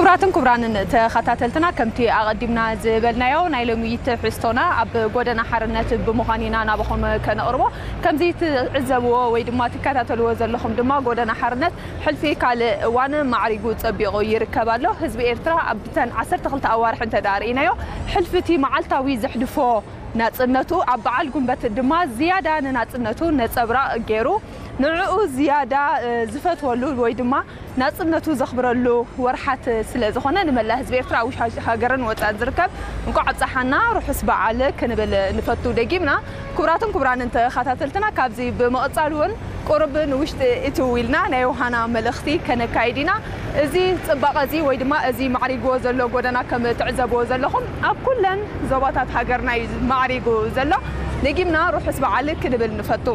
ክቡራትን ክቡራንን ተኸታተልትና፣ ከምቲ ኣቐዲምና ዝበልናዮ፣ ናይ ሎሚ ትሕዝቶና ኣብ ጎደና ሓርነት ብምዃን ኢና ናባኹም ከነቕርቦ። ከምዚ ትዕዘብዎ ወይ ድማ ትከታተልዎ ዘለኹም ድማ፣ ጎደና ሓርነት ሕልፊ ካልእ እዋን ማዕሪጉ ጸቢቑ ይርከብ ኣሎ። ህዝቢ ኤርትራ ኣብተን ዓሰርተ ክልተ ኣዋርሕ እንተ ደኣ ርኢናዮ፣ ሕልፊ እቲ መዓልታዊ ዘሕልፎ ናጽነቱ፣ ኣብ በዓል ጉንበት ድማ ዝያዳ ንናጽነቱ ነጸብራቕ ገይሩ፣ ንዕኡ ዝያዳ፣ እ፣ ዝፈትወሉ ወይ ድማ ናጽነቱ ዘኽብረሉ ወርሓት ስለ ዝኾነ፣ ንመላእ ህዝቢ ኤርትራ ኣብ ውሽጢ ሃገርን ወጻእን ዝርከብ እንቋዕ ኣብጽሓና፣ ርሑስ በዓል ክንብል ንፈቱ ደጊምና። ክቡራትን ክቡራንን ተኸታተልትና፣ ካብዚ ብምቕጻል እውን ቁሩብ ንውሽጢ እትው ኢልና ናይ ዮሃና መልእኽቲ ከነካይድ ኢና። እዚ ጽባቐ እዚ ወይ ድማ እዚ ማዕሪግዎ ዘሎ ጎደና ከም ትዕዘብዎ ዘለኹም ኣብ ኩለን ዞባታት ሃገርና እዩ ማዕሪጉ ዘሎ። ደጊምና ርሑስ በዓል ክንብል ንፈቱ።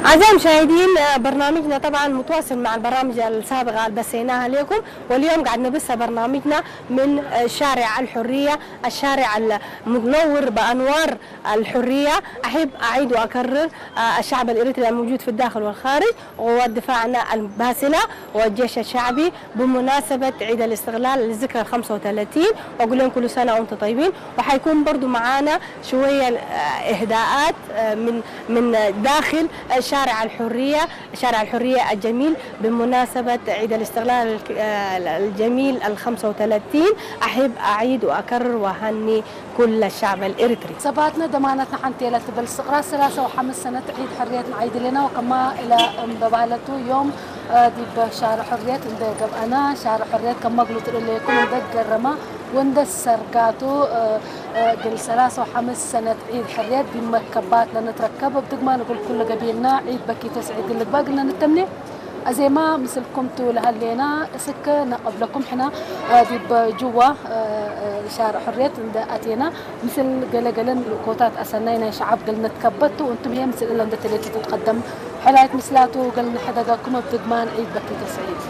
أعزائي المشاهدين، آه، برنامجنا طبعا متواصل مع البرامج السابقة اللي بثيناها لكم، واليوم قاعد نبث برنامجنا من، آه، شارع الحرية، الشارع المنور بأنوار الحرية. أحب أعيد وأكرر، آه، الشعب الإريتري الموجود في الداخل والخارج، قوات دفاعنا الباسلة والجيش الشعبي، بمناسبة عيد الاستقلال للذكرى الخمسة وثلاثين، وأقول لهم كل سنة وأنتم طيبين. وحيكون برضو معانا شوية، آه، إهداءات، آه، من، من داخل شارع الحرية، شارع الحرية الجميل، بمناسبة عيد الاستقلال الك-، آه، الجميل الخمسة وثلاثين. أحب أعيد وأكرر وأهني كل الشعب الإريتري. ሰባትና ደማናትና ሓንቲ እያ ትብል ስቕራ ሰላሳ ወሓምስ ሰነት ዒድ ሕርየት ንዓይድ ኣለና ወከማ ኢላ እምበባለቱ ዮም ዲብ ሻር ሕርየት እንደ ገብኣና ሻር ሕርየት ከማ ግሉትሉ ለይኩም እንደ ገረማ ወንደ ሰርጋቱ ግል ሰላሳ ወሓምስ ሰነት ዒድ ሕርየት ቢመከባት ለንትረከብ ብትግማ ንጉል ኩሉ ገቢልና ዒድ በኪቶ ስዒድ ልግባ ግልና ንተምኔ ኣዜማ ምስልኩም ትውልሃሌና እስከ ነቐብለኩም ሕና ዲብ ጅዋ ሻር ሕርየት እንደ ኣቴና ምስል ገለገለን ልእኮታት ኣሰናይ ናይ ሸዓብ ግል ንትከበቱ እንቱም ህየ ምስል እለ እንደ ተሌቱ ትትቀደም ሕላይት ምስላቱ ግል ንሕደገኩም ብትግማን ዒድ በኪቶ ስዒድ።